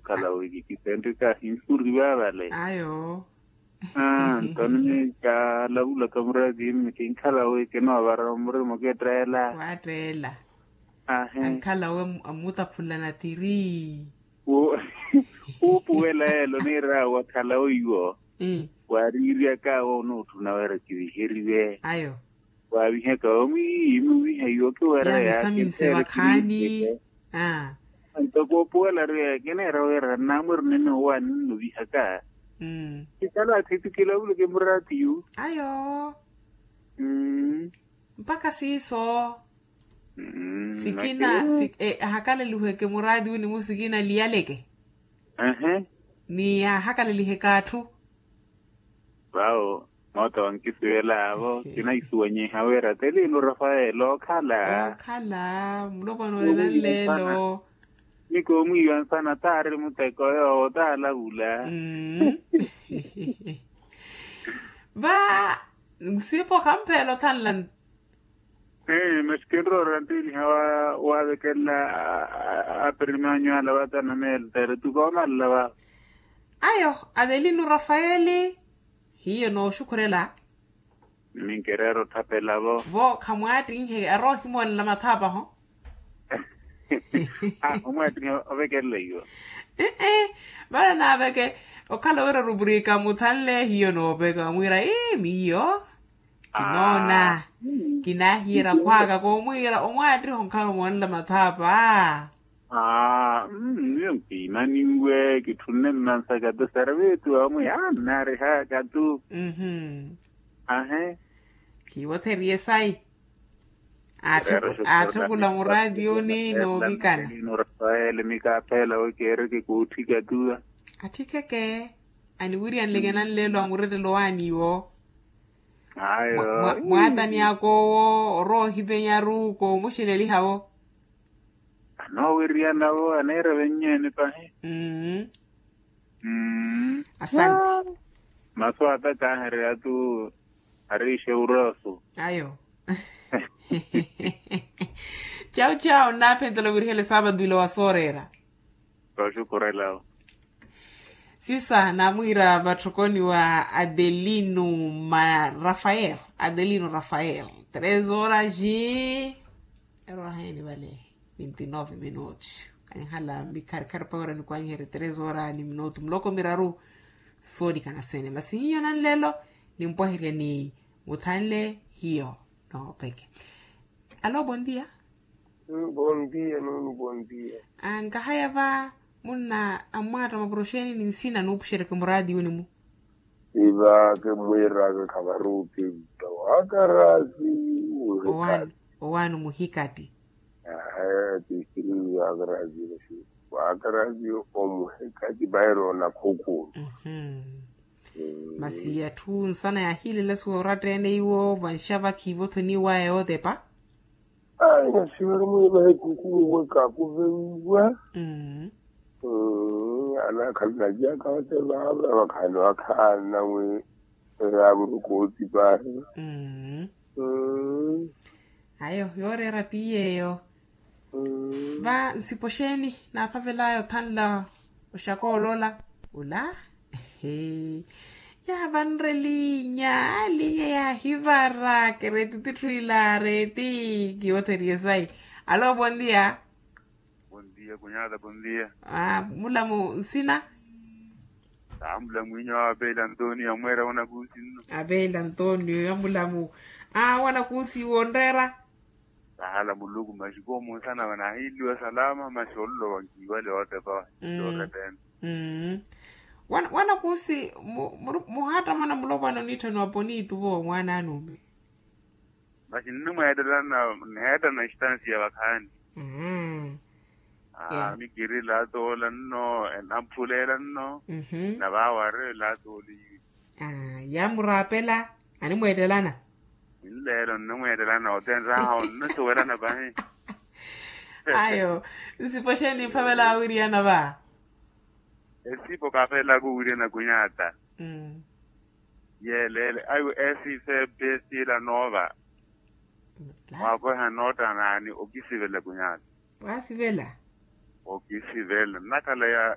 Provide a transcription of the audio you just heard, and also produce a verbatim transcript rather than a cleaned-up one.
Khala wi kikisenteka hinsuri vavale. Ayo. Aa ntoni ni kalavulaka murazi yimmi kinkhala wi kinoovara murimo kitteela. Watteela. Ahe. Ankhala wi amutaphulana tiri. Wuupuwela yeelo niira wakhala wiiwo. Waariiryaka wo onootthuna wira kiviheriwe. Ayo. Waavihaka omwiiyi muviha iwo kiwera. Yaavisaminse vakhaani. Aa. Ntoko opuwela riya kineera wira namweri nene owaani nnovihaka. Kikala athitikila ovuluke muraatiyu. Ayo. Mpakha siiso. Sikina. Ahakaleliweke muraatiyu ni musikina liyaleke. Ni ahakaleliheka atthu. Vaawo moota wankisivelaavo kinaisuwanyiha wira telino rafael okhala. Okhala mulopwana onena nleelo. Ni koomwiiwa nsana taari muteko yoowo taalavula. Va nsipo khampeela othanla. Masi kinroora nteliha waavekelela apirimanyu ala vatanamela tere tukoomalala va. Ayo avelino rafaeli. Hiyo nooxukhurela. Minkereera otthapela vo. Vo khamwaattinhe aroohimoolela mathaapaho. Omwaattinhe ovekelela iwo. Ee vale naaveke okhala wira rupurika muthanle hiyo nooveka omwiira ii miyo. Kinoona. Kinahiyerya khwaka koomwiira omwaattiho nkhala omoonela mathaapa. Aa miyo nkiimaniwe kitthunne mmansaka tu servitu amwi aa nnaarihaka tu. Ahe. Kiiwotheriye sayi. Aatthukula muraatiyuni noovikana. Rafael mikaaphela wekeereke kootthika tuwa. Atthikeke. Aniwiriyanleke nanleelo amurettelo waaniwo. Ayo. Mwaatani akoowo orowa ohipenyaru koomuxineliha-wo. Anoowiriyana-wo aneera vennyeni pahi. Asanti. Masu ata kaahereya tu ariixe urosu. Ayo. Chau chau nnaaphentela wirihela esaapatu ila wa sooreera. Vaxukhurela. Sisa naamwiira vatthokoni wa adelino ma rafael. Adelino rafael tres horas. Eroraheni vale vinti nove minutos. Kaninhala mikharikhari pawerani kwanyiherye tres horas ni minuto muloko miraru. Soolikana sene masi hiyo nanlelo. Nimpwaherya ni muthanle hiyo noopeke. Alo bondia. Bondia nunu bondia. Nkahaya va munna ammwaatta mapuroxeni ni nsina nuupuxeryeke muraatiwini-mu. Ivaake mmwiiraaka khavarukimpa waakaraasi. Owaani omuhikati. Ahe tiisiriwi waakaraasi. Waakaraasi omuhikati vairo na khukulu. Masi atthu nsana yaahiilela suwa oratta-ene iwo vanxa vakhiivothoniwaya yootepa. Ai nasiwari mwiivahe kukuuwe kakuvewiwa. Anaakhalana jaka ote vaava vakhaani wakhaana wi. Yaavuruka otipahi. Ayo yooreera piiy'eyo. Va nsipo xeeni naaphavel'aya othanla oxakoolola ula. Yaavanre liinya liinya yaahivara kereti titthu ila areti. Kiwotheriye sayi. Alo bondia. Bondia kunyata bondia. Mulamu nsina. Mulamu inyo apeela antonio amweera wanakuusi nno. Apeela antonio ya mulamu. Wanakuusi wonreera. Sahala muluku masi koomunsana vanahiilliwa salama masi ololowa nkiiwale ootepa. Orepena. Wanakuusi muhaattamana mulopwana oniitthaniwa poniituvo mwaana anuumi. Masi nnimweettelana niheettana istansiya vakhaani. Mikiri laatoola nno enampuleela nno. Navaawari laatooli. Yaamuraapela animweettelana. Nleelo nnimweettelana ote nraha onnisuwelana pahi. Ayo nsipo xeeni niphavela awiriyana va. Esipo kaafelaka owiriyana kunyata. Yeeleele ayo esife pesiila noova. Mwaakoha nootta naani okisivela kunyata. Waasivela. Okisivela nnakhala ya